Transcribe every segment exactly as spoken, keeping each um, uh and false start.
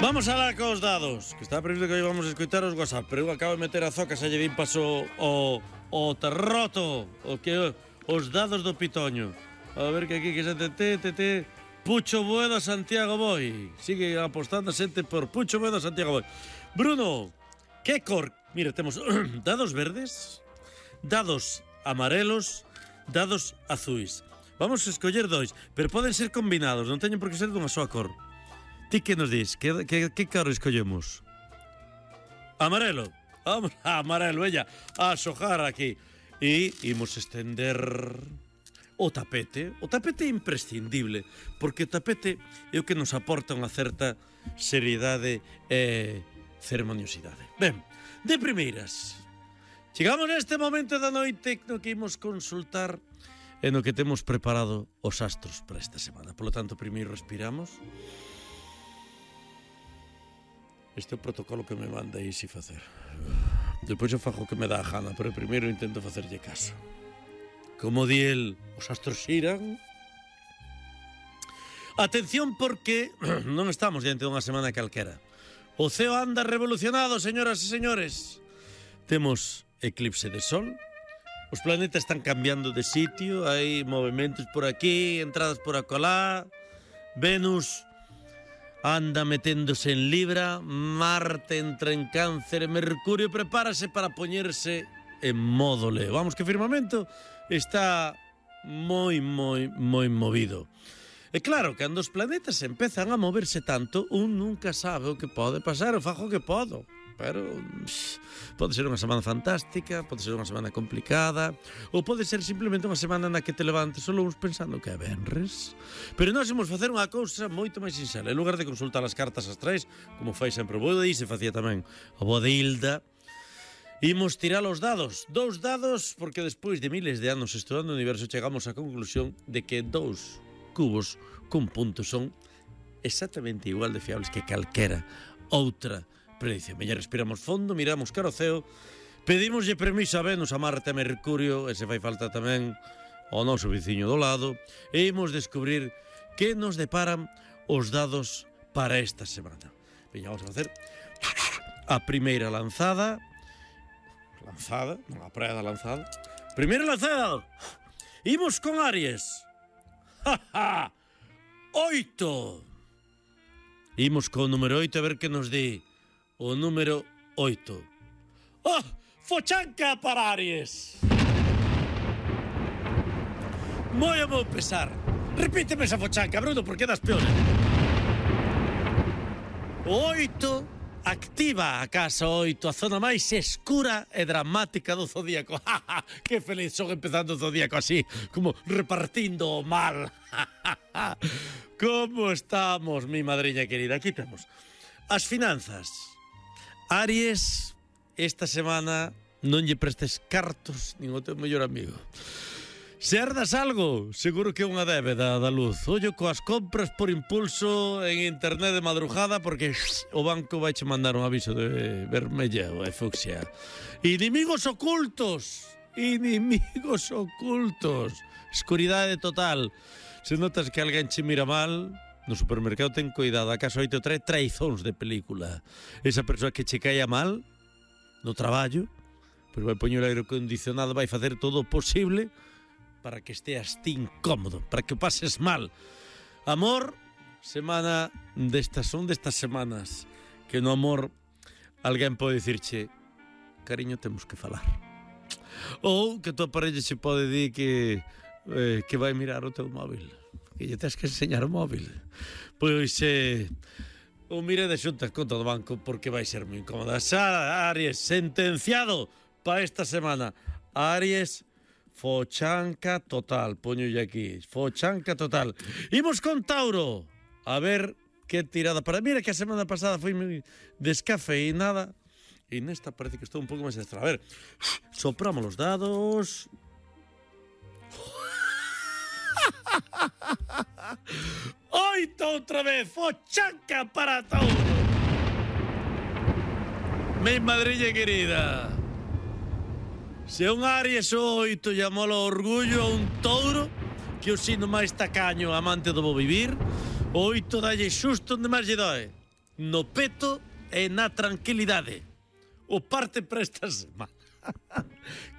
Vamos alá cos dados, que está previsto que hoy vamos a escoitar os WhatsApp, pero eu acabo de meter a zoca, se lle din paso o, o terroto, o que os dados do pitoño. A ver que aquí que se te te te te Pucho Boeda Santiago Boi. Sigue apostando a xente por Pucho Boeda Santiago Boi. Bruno, que cor? Mira, temos dados verdes, dados amarelos, dados azuis. Vamos a escoller dois, pero poden ser combinados, non teñen por que ser dunha soa cor. Ti que nos dis? Que, que, que cor escollemos? Amarelo. Vamos a amarelo, ella, a xojar aquí. E imos estender o tapete. O tapete é imprescindible, porque o tapete é o que nos aporta unha certa seriedade e ceremoniosidade. Ben, de primeiras, chegamos neste momento da noite no que imos consultar e no que temos preparado os astros para esta semana. Por lo tanto, primeiro respiramos. Este é o protocolo que me manda Isi facer. Depois eu fago o que me dá a gana, pero primeiro intento facerlle caso. Como di el, os astros xiran. Atención porque non estamos diante dunha semana calquera. O ceo anda revolucionado, señoras e señores. Temos eclipse de sol. Os planetas están cambiando de sitio. Hai movimentos por aquí, entradas por acolá. Venus anda meténdose en Libra, Marte entra en Cáncer e Mercurio prepárase para poñerse en modo Leo. Vamos, que o firmamento está moi, moi, moi movido. E claro, cando os planetas empezan a moverse tanto, un nunca sabe o que pode pasar, o fajo que podo. Pero pff, pode ser unha semana fantástica, pode ser unha semana complicada, ou pode ser simplemente unha semana na que te levantes solo uns pensando que é venres. Pero nós imos facer unha cousa moito máis sinxela. En lugar de consultar as cartas astrais, como fai sempre o bo de Isi, facía tamén o bo de Hilda, imos tirar os dados. Dous dados, porque despois de miles de anos estudando o universo chegamos á conclusión de que dous cubos con puntos son exactamente igual de fiables que calquera outra predice. Meña respiramos fondo, miramos cara ao ceo, pedimoslle permiso a Venus, a Marte, a Mercurio, e se fai falta tamén ao noso veciño do lado, e imos descubrir que nos deparan os dados para esta semana. Veña, vamos a facer a primeira lanzada. Lanzada, non a praia da lanzada. Primeira lanzada. Imos con Aries. Ja, ja. Oito. Imos con o número oito a ver que nos di. O número oito. Oh, fochanca para Aries. Moi a meu pesar. Repíteme esa fochanca, Bruno, porque das peores. O oito activa a casa oito, a zona máis escura e dramática do zodíaco. Que feliz son empezando o zodíaco así, como repartindo o mal. Como estamos, mi madriña querida? Aquí temos as finanzas. Aries, esta semana non lle prestes cartos nin o teu mellor amigo. Se herdas algo, seguro que é unha débeda da luz. Ollo coas compras por impulso en internet de madrugada porque o banco vai che mandar un aviso de vermella ou de fucsia. Inimigos ocultos, inimigos ocultos. Escuridade total. Se notas que alguén che mira mal, no supermercado ten cuidado, a casa oito trae traizóns de película. Esa persoa que che caia mal no traballo, pero vai poñer o aire acondicionado, vai facer todo o posible para que esteas ti incómodo, para que o pases mal. Amor, semana destas, son destas semanas que no amor alguén pode dicirche, cariño, temos que falar. Ou que tua parella se pode dir que eh, que vai mirar o teu móvil, que lle tens que enseñar o móvil. Pois eh, o mire de xunta conta do banco porque vai ser moi incómoda. Xa, Aries, sentenciado para esta semana. Aries, fochanca total, poñolle aquí, fochanca total. Imos con Tauro, a ver que tirada para... Mira que a semana pasada foi moi descafeinada e nesta parece que estou un pouco máis extra. A ver, sopramos os dados... Oito outra vez, fochanca para Tauro. Mi madriña querida, se un Aries o oito llamou o orgullo a un Touro, que o sino máis tacaño amante do bo vivir, o oito dalle xusto onde máis lle doe. no peto e na tranquilidade. O parte para esta semana.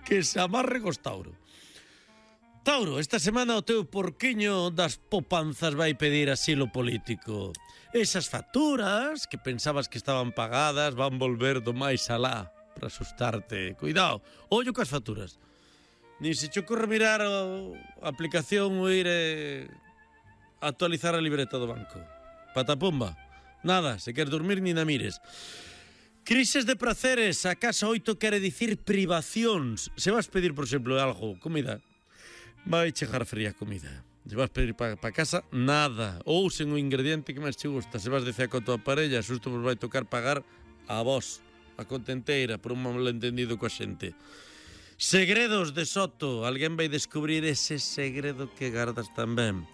Que se amarre cos Tauro. Tauro, esta semana o teu porquiño das popanzas vai pedir asilo político. Esas facturas que pensabas que estaban pagadas van volver do máis alá para asustarte. Cuidado, ollo cas facturas. Ni se te ocorre mirar a aplicación ou ir eh, actualizar a libreta do banco. Patapumba. Nada, se queres dormir ni na mires. Crises de praceres, a casa oito quere dicir privacións. Se vas pedir, por exemplo, algo, comida, vai chegar fría comida. Se vas pedir para pa casa, nada. Ou sen o ingrediente que máis te gusta. Se vas dicer con a tua parella, xusto vos vai tocar pagar a vos, a contenteira, por un malentendido coa xente. Segredos de Soto. Alguén vai descubrir ese segredo que gardas tamén.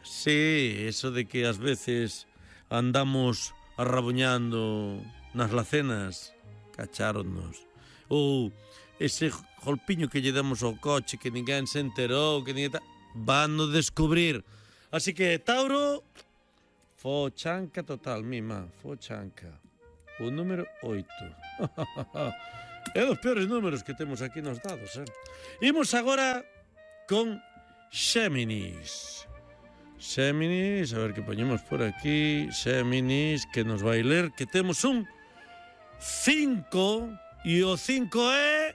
Sí, eso de que ás veces andamos arrabuñando nas lacenas, cacháronnos. Ou ese golpiño que lle damos ao coche que ninguén se enterou, que ninguén ta... van no descubrir. Así que, Tauro, fochanca total, mima, fochanca. O número oito. É dos peores números que temos aquí nos dados, eh? Imos agora con Xéminis. Xéminis, a ver que poñemos por aquí. Xéminis, que nos vai ler, que temos un cinco, e o cinco é...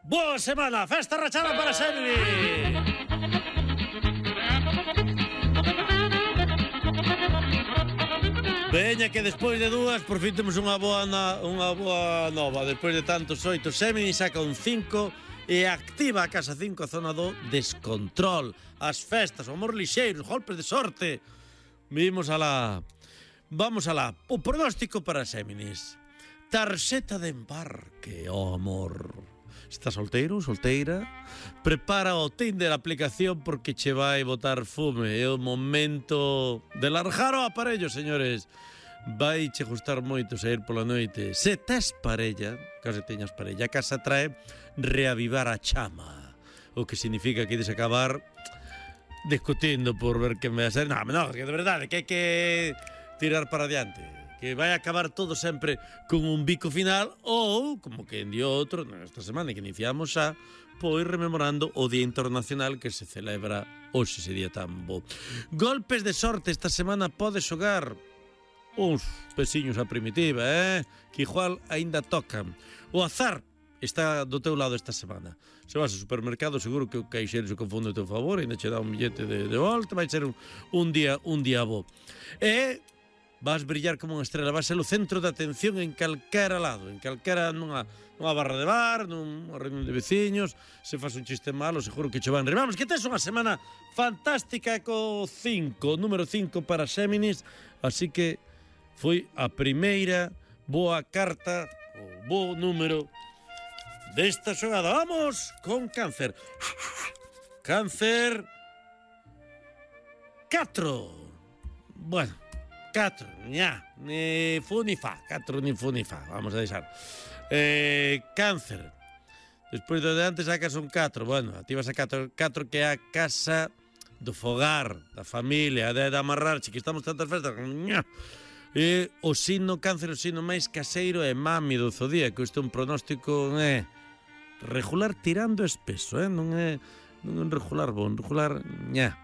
Boa semana, festa rachada para Xéminis. Veña que despois de dúas por fin temos unha boa, na, unha boa nova. Despois de tantos oito, Xéminis saca un cinco e activa a casa cinco, a zona do descontrol, as festas, o amor lixeiro, os golpes de sorte. Vimos alá. Vamos alá. O pronóstico para Xéminis. Tarxeta de embarque, oh amor. Estás solteiro, solteira? Prepara o Tinder, a aplicación, porque che vai botar fume. É o momento de largar o aparello, señores. Vai che gustar moito sair pola noite. Se tes parella, case teñas parella, a casa trae reavivar a chama. O que significa que ides acabar discutindo por ver quen vai a ser. Non, non, que de verdade, que hai que tirar para adiante. Que vai acabar todo sempre con un bico final ou, como que en dio outro, nesta semana que iniciamos xa, pois rememorando o Día Internacional que se celebra hoxe, ese día tan bo. Golpes de sorte, esta semana podes xogar uns pesiños a primitiva, eh? Que igual aínda tocan. O azar está do teu lado esta semana. Se vas ao supermercado, seguro que o caixeiro se confunde a teu favor, ainda che dá un billete de, de volta, vai ser un, un día un día bo. E vas brillar como unha estrela, vas ser o centro de atención en calquera lado, en calquera nunha, nunha barra de bar, nunha reunión de veciños, se faz un chiste malo, seguro que che van rir. Vamos, que tes unha semana fantástica co cinco, número cinco para Xéminis, así que foi a primeira boa carta, o bo número desta xogada. Vamos con Cáncer. Cáncer catro. Bueno, catro, ña, ni fu ni fa, catro ni fu ni fa, vamos a deixar. Eh, cáncer, despois do de antes sacas un catro, bueno, activas a catro, catro que é a casa do fogar, da familia, de, de amarrar, que estamos tantas festas, ña. E o signo Cáncer, o signo máis caseiro é mami do zodíaco, isto é un pronóstico eh, regular tirando espeso, eh, non é non é un regular bon, regular ña.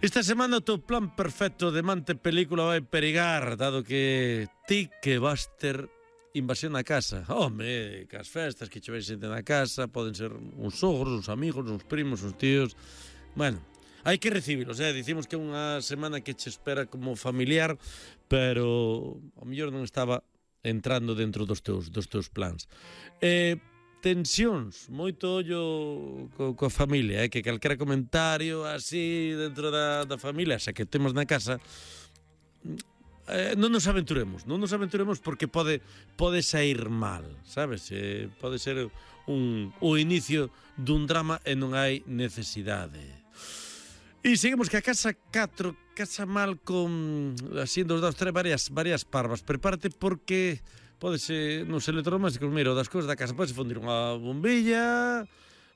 Esta semana o teu plan perfecto de mante película vai perigar, dado que ti que vas ter invasión na casa. Home, que as festas que che vais xente na casa poden ser uns sogros, uns amigos, uns primos, uns tíos. Bueno, hai que recibilos, eh? Dicimos que é unha semana que che espera como familiar, pero ao mellor non estaba entrando dentro dos teus, dos teus plans. Eh, tensións, moito ollo co, coa familia, eh? Que calquera comentario así dentro da, da familia, xa que temos na casa, eh, non nos aventuremos, non nos aventuremos porque pode pode sair mal, sabes? Eh, pode ser un, o inicio dun drama e non hai necesidade. E seguimos que a casa catro, casa mal con, así, dos dados, tres varias, varias parvas. Prepárate porque pode ser nos electrodomésticos, mira, das cousas da casa, pode fundir unha bombilla,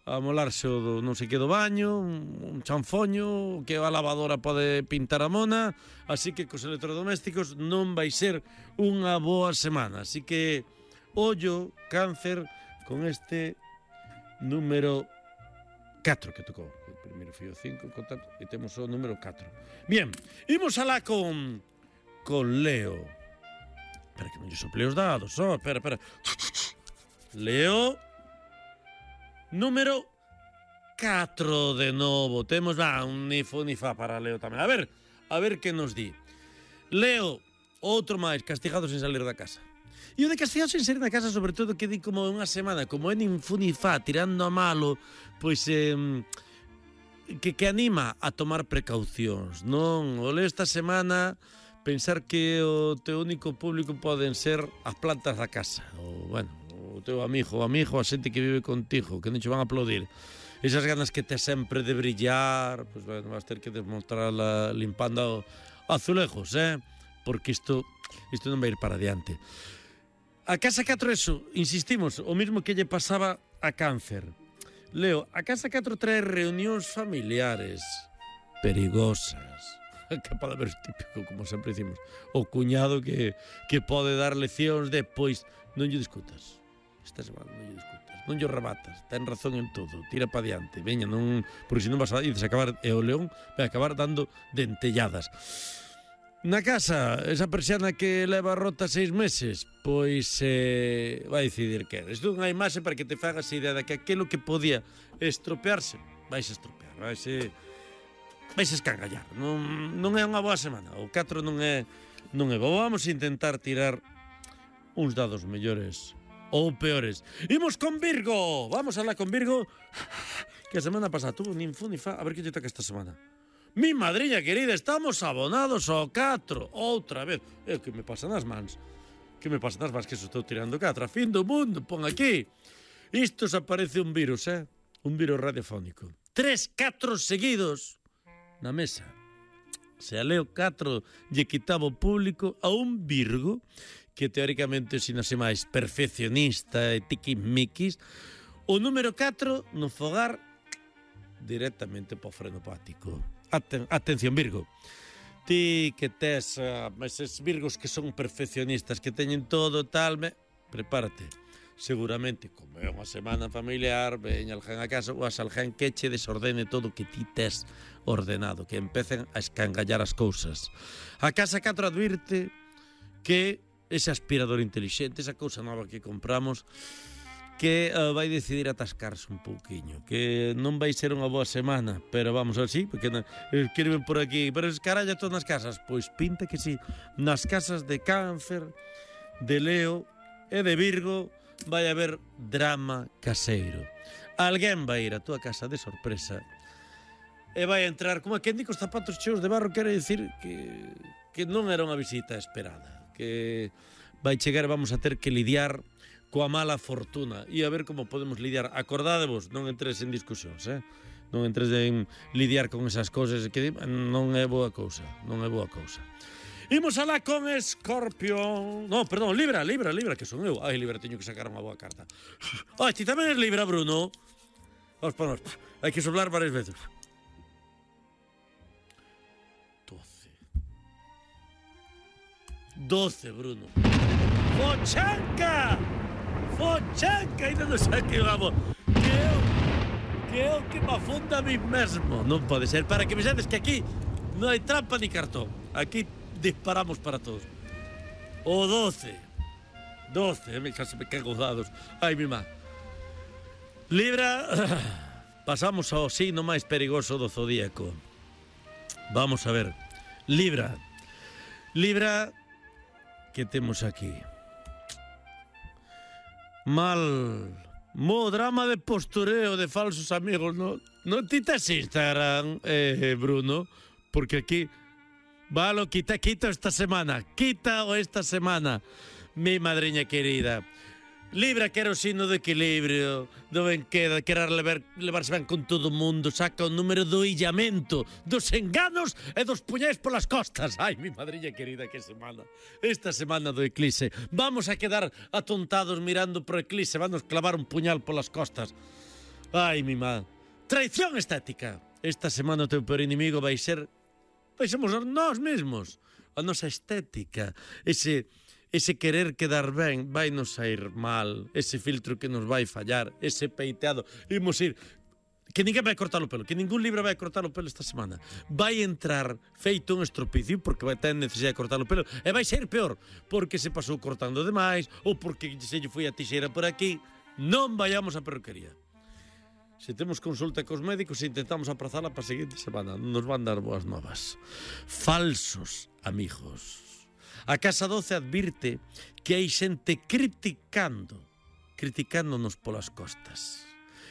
a molarse o do non sei que do baño, un chanfoño, que a lavadora pode pintar a mona, así que cos electrodomésticos non vai ser unha boa semana. Así que, ollo, Cáncer, con este número catro que tocou. O primeiro foi o cinco, contacto, e temos o número catro. Bien, imos alá con, con Leo. Espera que non lle sople os dados, oh, espera, espera. Leo... Número catro de novo. Temos va, un ni fu ni fa para Leo tamén. A ver, a ver que nos di. Leo, outro máis, castigado sen salir da casa. E o de castigado sen salir da casa, sobre todo, que di como unha semana, como é nin fu ni fa, tirando a malo, pois eh, que, que anima a tomar precaucións, non? O Leo esta semana pensar que o teu único público poden ser as plantas da casa, ou, bueno, o teu amigo, o amigo, a xente que vive contigo, que non che van a aplaudir. Esas ganas que tes sempre de brillar, pois, bueno, vas ter que demostrarla limpando azulejos, eh? Porque isto, isto non vai ir para adiante. A casa catro, eso, insistimos, o mismo que lle pasaba a Cáncer. Leo, a casa catro trae reunións familiares perigosas. Que pode haber típico, como sempre dicimos, o cuñado que, que pode dar leccións de, pois, non lle discutas. Esta semana non lle discutas, non lle rebatas, ten razón en todo, tira pa diante, veña, non, porque senón vas a dices acabar, e o león vai acabar dando dentelladas. Na casa, esa persiana que leva rota seis meses, pois eh, vai decidir que é. Isto é unha imaxe para que te fagas idea de que aquilo que podía estropearse, vais a estropear, vais a, vais a escangallar. Non, non é unha boa semana, o catro non é, non é boa. Vamos a intentar tirar uns dados mellores ou peores. Imos con Virgo. Vamos a la con Virgo, que a semana pasada tuvo nin fu ni fa. A ver que lle toca esta semana. Mi madriña querida, estamos abonados ao catro. Outra vez. É que me pasan as mans. Que me pasan as mans que se estou tirando catro. A fin do mundo, pon aquí. Isto se aparece un virus, eh? Un virus radiofónico. Tres catro seguidos na mesa. Se a Leo catro lle quitaba o público a un Virgo que teóricamente sinase máis perfeccionista e tiquismiquis, o número catro no fogar directamente po frenopático. Aten atención, Virgo. Ti que tes uh, eses Virgos que son perfeccionistas, que teñen todo tal, me... prepárate. Seguramente, como é unha semana familiar, veña alguén a casa, ou as alguén que che desordene todo que ti tes ordenado, que empecen a escangallar as cousas. A casa catro advirte que ese aspirador inteligente, esa cousa nova que compramos, que uh, vai decidir atascarse un pouquiño, que non vai ser unha boa semana, pero vamos a ver, sí, porque na, escriben por aquí, pero es caralla todas nas casas, pois pinta que sí, nas casas de Cáncer, de Leo e de Virgo vai haber drama caseiro. Alguén vai ir a túa casa de sorpresa e vai entrar, como a quen di cos zapatos cheos de barro, quere dicir que, que non era unha visita esperada, que vai chegar e vamos a ter que lidiar coa mala fortuna e a ver como podemos lidiar. Acordádevos, non entres en discusións, eh? Non entres en lidiar con esas cousas que non é boa cousa, non é boa cousa. Imos alá con Escorpio. No, perdón, Libra, Libra, Libra, que son eu. Ai, Libra, teño que sacar unha boa carta. Ai, ti tamén es Libra, Bruno. Vamos, vamos, hai que soplar varias veces. doce, Bruno. Fochanca! Fochanca! Ainda non sei que vamos. Que eu, que eu que me afunda a mí mesmo. Non pode ser. Para que me sabes que aquí non hai trampa ni cartón. Aquí disparamos para todos. O doce. doce. Xa se me cago dados. Ai, mi má. Libra, pasamos ao signo máis perigoso do zodíaco. Vamos a ver. Libra. Libra... que temos aquí? Mal, mo drama de postureo de falsos amigos, no, no ti tes Instagram, eh, Bruno, porque aquí, valo, quita, quita esta semana, quita o esta semana, mi madriña querida. Libra que era o signo de equilibrio, do ben queda, querer levar, levarse ben con todo o mundo, saca o número do illamento, dos enganos e dos puñais polas costas. Ai, mi madriña querida, que semana. Esta semana do eclipse. Vamos a quedar atontados mirando pro eclipse, vamos clavar un puñal polas costas. Ai, mi má. Traición estética. Esta semana o teu peor inimigo vai ser... Vai sermos nós mesmos. A nosa estética. Ese... Ese querer quedar ben vai nos sair mal. Ese filtro que nos vai fallar. Ese peiteado. Imos ir... Que ninguén vai cortar o pelo. Que ningún libro vai cortar o pelo esta semana. Vai entrar feito un estropicio porque vai ter necesidade de cortar o pelo. E vai ser peor. Porque se pasou cortando demais. Ou porque se lle foi a tixeira por aquí. Non vayamos á perruquería. Se temos consulta cos médicos intentamos aprazala para a seguinte semana. Non nos van dar boas novas. Falsos amigos. A Casa doce advirte que hai xente criticando, criticándonos polas costas.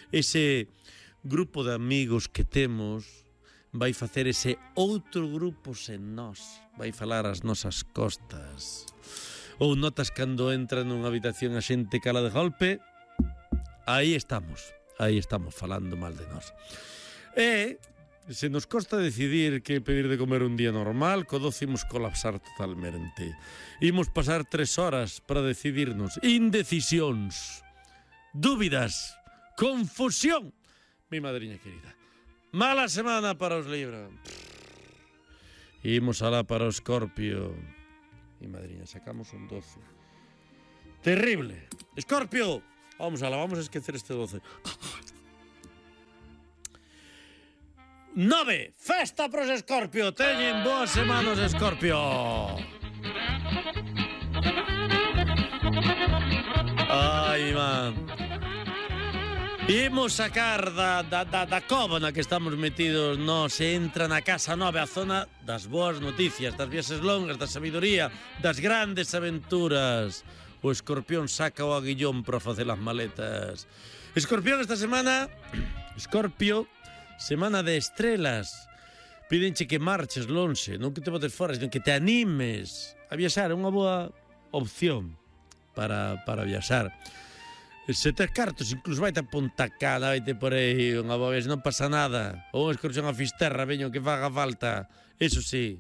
Ese grupo de amigos que temos vai facer ese outro grupo sen nós, vai falar as nosas costas. Ou notas cando entra nunha habitación a xente cala de golpe, aí estamos, aí estamos falando mal de nós. E se nos costa decidir que pedir de comer un día normal, co doce imos colapsar totalmente. Imos pasar tres horas para decidirnos. Indecisións, dúbidas, confusión. Mi madriña querida. Mala semana para os Libra. Imos alá para o Escorpio. Mi madriña, sacamos un doce. Terrible. Escorpio. Vamos alá, vamos a esquecer este doce. Nove, festa pros Escorpio. Teñen boas semanas, Escorpio. Ai, man. Imos sacar da, da, da, da cova na que estamos metidos. No, se entra na casa nove, a zona das boas noticias, das viaxes longas, da sabiduría, das grandes aventuras. O Escorpión saca o aguillón para facer as maletas. Escorpión esta semana, Escorpio, semana de estrelas. Pídenche que marches lonxe, non que te botes fora, sino que te animes a viaxar. É unha boa opción para, para viaxar. Se tes cartos, incluso vai-te a Punta Cana, vai-te por aí unha boa vez, non pasa nada. Ou unha excursión a Fisterra, veño, que faga falta. Eso sí,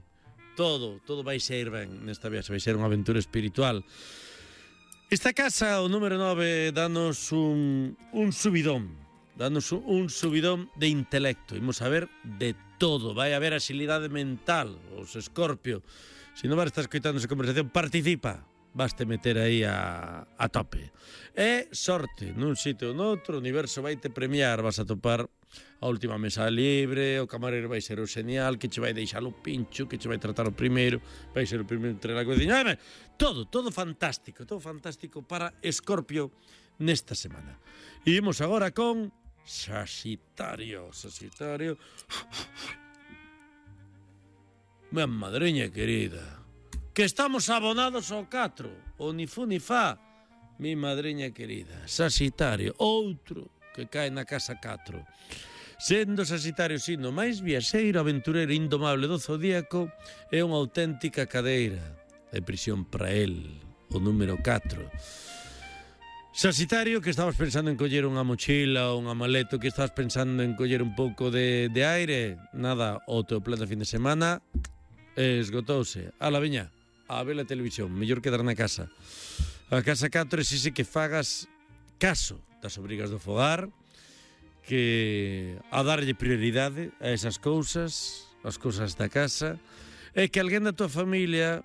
todo, todo vai ser ben nesta viaxe, vai ser unha aventura espiritual. Esta casa, o número nove, danos un, un subidón. Danos un subidón de intelecto. Imos a ver de todo. Vai haber agilidade mental. Os Escorpio, se non vas estar escoitando esa conversación, participa. Vaste meter aí a, a tope. E sorte, nun sitio ou noutro, o universo vai te premiar. Vas a topar a última mesa libre, o camareiro vai ser o genial, que che vai deixar o pincho, que che vai tratar o primeiro, vai ser o primeiro entre a cociña. Todo, todo fantástico, todo fantástico para Escorpio nesta semana. E imos agora con Saxitario, Saxitario. Minha madriña querida, que estamos abonados ao catro, o ni fu ni fa. Mi madriña querida, Saxitario, outro que cae na casa catro. Sendo Saxitario sino máis viaxeiro, aventureiro, indomable do zodíaco, é unha auténtica cadeira de prisión para el, o número catro. Saxitario, que estabas pensando en coller unha mochila ou unha maleta, que estabas pensando en coller un pouco de, de aire, nada, o teu plan de fin de semana esgotouse. A la viña, a ver a televisión, mellor quedar na casa. A casa catro exige que fagas caso das obrigas do fogar, que a darlle prioridade a esas cousas, as cousas da casa, e que alguén da tua familia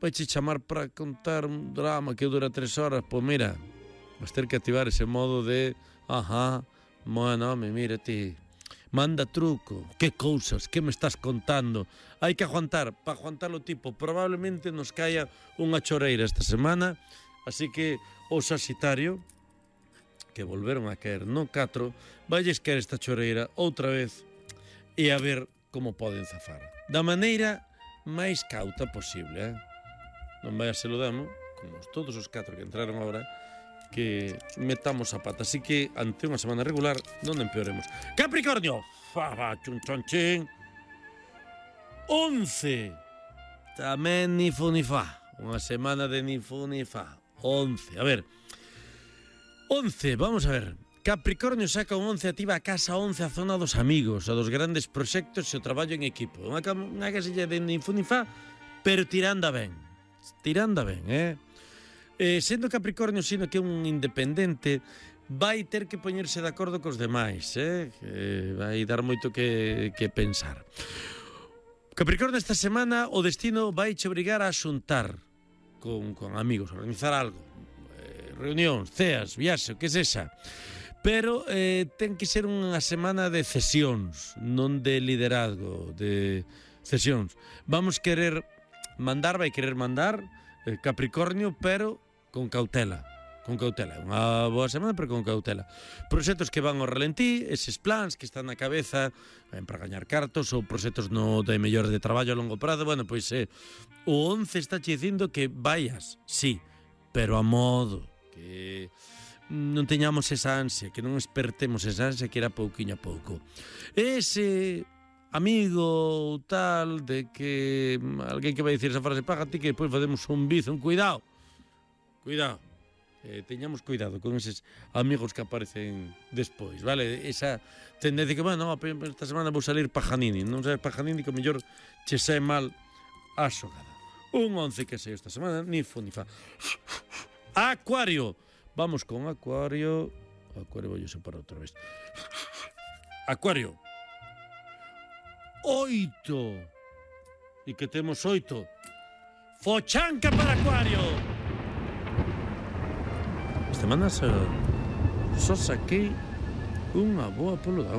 vai che chamar para contar un drama que dura tres horas. Pois mira, vas ter que activar ese modo de ajá, bueno, me mira ti, manda truco, que cousas, que me estás contando. Hai que aguantar, para aguantar o tipo, probablemente nos caia unha choreira esta semana, así que o Saxitario, que volveron a caer no catro, valles caer esta choreira outra vez e a ver como poden zafar. Da maneira máis cauta posible, eh? Non vai a se lo demo, como todos os catro que entraron agora, que metamos a pata. Así que, ante unha semana regular, non empeoremos. Capricornio! Fa, chun, chun, chin. Once. Tamén ni fu ni fa. Unha semana de ni fu ni fa. Once. A ver. Once, vamos a ver. Capricornio saca un once, activa a casa once, a zona dos amigos, a dos grandes proxectos e o traballo en equipo. Unha, unha casilla de ni fu ni fa, pero tirando ben. Tirando ben, eh? Eh, sendo Capricornio sino que é un independente, vai ter que poñerse de acordo cos demais, eh? Que vai dar moito que, que pensar. Capricornio, esta semana o destino vai che obrigar a xuntar con, con amigos, a organizar algo, eh, reunións, ceas, viaxe, o que sexa. Pero eh, ten que ser unha semana de cesións, non de liderazgo, de cesións. Vamos querer mandar, vai querer mandar eh, Capricornio, pero con cautela. Con cautela. Unha boa semana, pero con cautela. Proxectos que van ao ralentí, eses plans que están na cabeza, ben para gañar cartos, ou proxectos no de mellor de traballo a longo prazo, bueno, pois eh, o once está che dicindo que vayas, sí, pero a modo, que non teñamos esa ansia, que non espertemos esa ansia, que era pouquiño a pouco. Ese amigo ou tal de que alguén que vai dicir esa frase, págate que depois facemos un bizo, un cuidado, cuidado. Eh, teñamos cuidado con eses amigos que aparecen despois, vale? Esa tendencia que, bueno, esta semana vou salir Pajanini, non sabes Pajanini, que o mellor che sae mal a xogada. Un once que sei esta semana, ni fu ni fa. Acuario. Vamos con Acuario. Acuario vou separar outra vez. Acuario. Oito. E que temos oito. Fochanca para Acuario. Esta semana só, só saquei unha boa polo